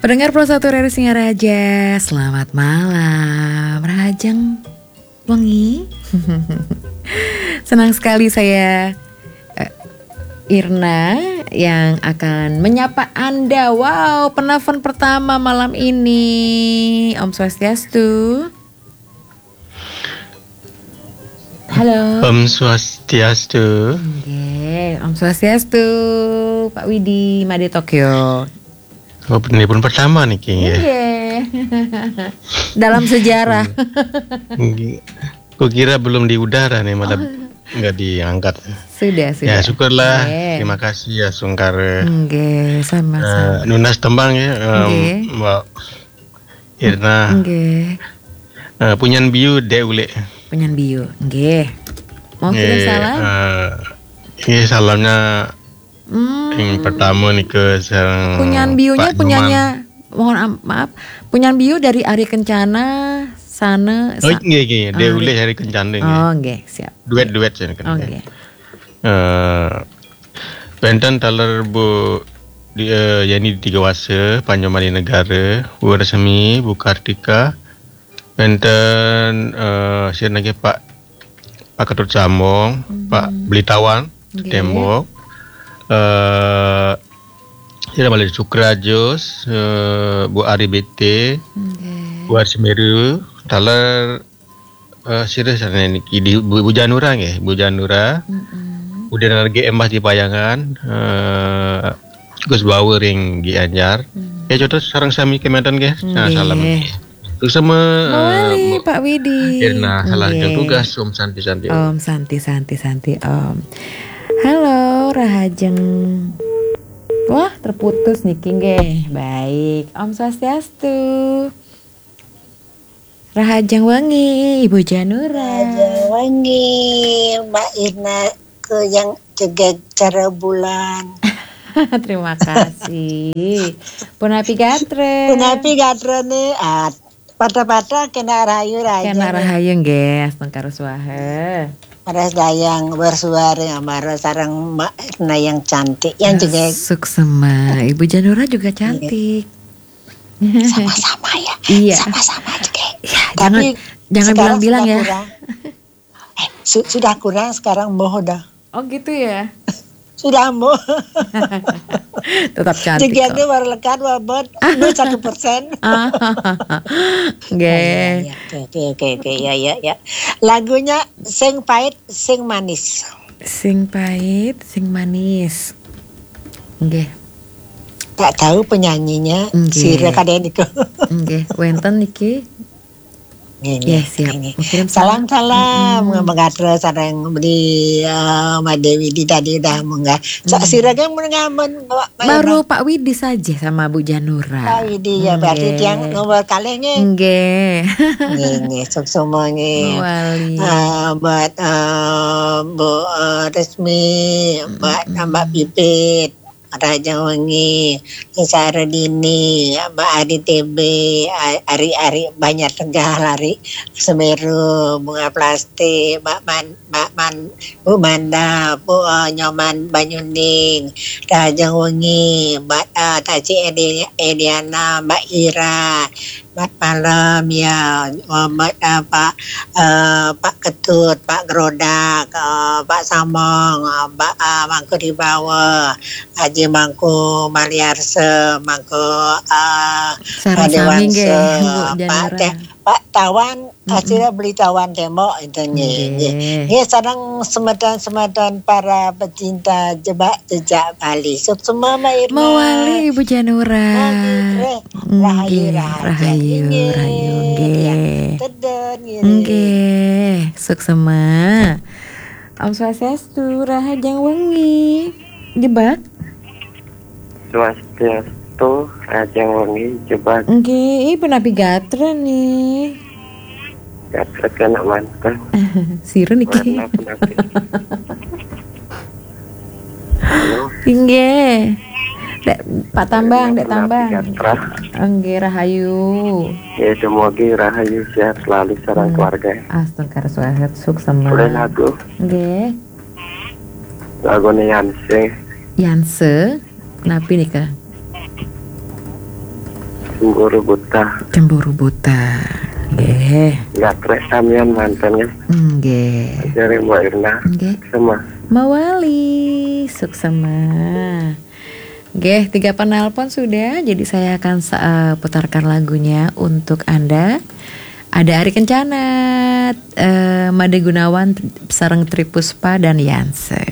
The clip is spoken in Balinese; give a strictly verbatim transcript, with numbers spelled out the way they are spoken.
Pendengar Pro satu Radio Singaraja, selamat malam. Rahajeng wengi. Senang sekali saya, eh, Irna, yang akan menyapa Anda. Wow, penelpon pertama malam ini. Om Swastiastu. Halo. Om Swastiastu. Nggih, Om Swastiastu, Pak Widi, Made Tokyo. Oh, ini pun pertama niki, nggih. Nggih. Dalam sejarah. Nggih. Kukira belum di udara nih, malah nggak diangkat. Sudah, sudah. Ya, syukurlah. Nggih. Terima kasih ya, Sungkare. Nggih, sama-sama. Eh, nunas tembang ya, em, Nggih. Mbak Irna. Nggih. Eh, Punyan Biu, Dek Ulik. Punyan Biu, nggih. Mau kirim Nggih, salam? Eh, nggih, salamnya Hmm. Yang pertama nika sareng Punyan Biunya, Pak Nyoman. Punyannya, mohon am-, maaf, Punyan Biu dari Ari Kencana, sana, Oh, sa-, nggih, nggih, Dek Ari. Ulik Ari Kencana, nggih. Oh, nggih, siap. Duet-duet saya kena. Oh, nggih. Eh, wenten taler Bu di, eh, Yani Digawasa, Pak Nyoman Negara, Bu Resmi, Bu Kartika, wenten, eh, sira nggih Pak, Pak Ketut Sambung, Pak Belitawan, Nggih. Tembok, eh, sira malih Sukrajus, eh, Bu Ari B T, Nggih. Bu Ari Semeru, taler, eh, sira sareng niki di Bu, Bu Janura nggih, Bu Janura. Mm-mm. Udah lagi Embas di Payangan, eh, Gus Bawa ring Gianyar. Hmm. Ya, contoh sareng sami kemanten nggih. Nah, Nggih. Salam. Terus sama, eh, Mawali, Bu Pak Widi. Irna, salah Nggih. Jam tugas, Om Santi, Santi, Om. Om Santi, Santi, Santi, Om. Halo, Rahajeng. Wah, terputus niki nggih. Baik, Om Swastiastu. Rahajeng wengi, Ibu Janura. Rahajeng wengi, Mbak Irna, ke yang cegek cara bulan. Terima kasih. Punapi gatra. Punapi gatra nih, ah, pada-pada kena rayu rayu Kena nih. Rahayu nggih, astungkara swaha. Paras dayang bersuara yang marah sarang Mbak Irna yang cantik, yang Ah, cegek. Suksema. Ibu Janura juga Iya. Cantik. Sama-sama ya. Iya. Sama-sama juga. Ya, tapi jangan, jangan sekarang bilang-bilang sudah ya. Kurang. Eh, su-, sudah kurang, sekarang moh dah. Oh, gitu ya? Sudah moh. Tetap cantik. Jegene kok. Baru lekat, wabot, lu satu persen. Ah, nggih. Iya, iya, oke, oke, oke, oke, ya, ya, ya. Lagunya sing pahit, sing manis. Sing pahit, sing manis. Nggih. Tak tahu penyanyinya, nggih. Sira kadang niku. Nggih, wenten niki. Nggih, nggih, ya, siap. Nggih. Salam, salam. Salam-salam. Mm-mm. Mangga sareng beli, eh, Mbak Dewi di tadi udah munggah. Sa-, mm. Sira kan mun ngamen, Mbak, Mbak Baru Irma. Pak Widi saja sama Bu Janura. Pak Widi, ya, berarti nggih. Tiang nomor kalih, nggih. Nggih. Nggih, nggih, suksema, nggih. Mawali. Eh, buat, eh, Bu, eh, Resmi, buat, mm-mm. Mbak Pipit. Rahajeng wengi, Sara Dini, Mbak Ari T B, A-, Ari-Ari Banjar Tegal, Ari Semeru, Bunga Plastik, Mbak Man-, Mbak Man-, Bu Manda, Bu, eh, Nyoman Banyuning, Rahajeng wengi, Mbak, eh, Taci Edi-, Ediana, Mbak Ira, Selamat malam, ya. Selamat, eh, Pak, eh, Pak Ketut, Pak Gerodak, eh, Pak Samong, eh, Pak, eh, Mangku Dibawa, Haji Mangku Maliarse, Mangku, eh, Sareng sami nggih, Dewanse, Bu Pak Janura. Teh, Pak Tawan, mm-mm. Acara beli Tawan Tembok itu nggih, nggih. Nggih. Nggih, sareng semeton-semeton para pecinta jebak jejak Bali. Suksema, Mbak Irma. Mawali, Ibu Janura. Mawali, eh, Rahayu, nggih, rahayu, rahayu, nggih, rahayu, nggih. Tedun, nggih. Nggih, suksema. Om Swastiastu, rahajeng wengi. Jebak. Swastiastu, rahajeng wengi, jebak. Nggih, ih, punapi gatra nih. Gatra kena mantan. Sira niki. Warna punapi. Halo. Inggih. Dek, Pak Tambang, Dek Tambang. Gatra. Inggih, rahayu. Ya, semoga rahayu sehat selalu sareng keluarga. Astungkara swaha, suksema. Boleh lagu? Inggih. Lagune Yanse. Yanse? Napi nika? Cemburu buta. Cemburu buta. Nggih. Gatrek samian manten ya. Nggih. Dari Mbak Irna. Nggih. Sama. Mawali, suksema. Nggih, tiga penelpon sudah, jadi saya akan sa- eh, putarkan lagunya untuk Anda. Ada Ari Kencana, eh, Made Gunawan, sareng Tri Puspa dan Yanse.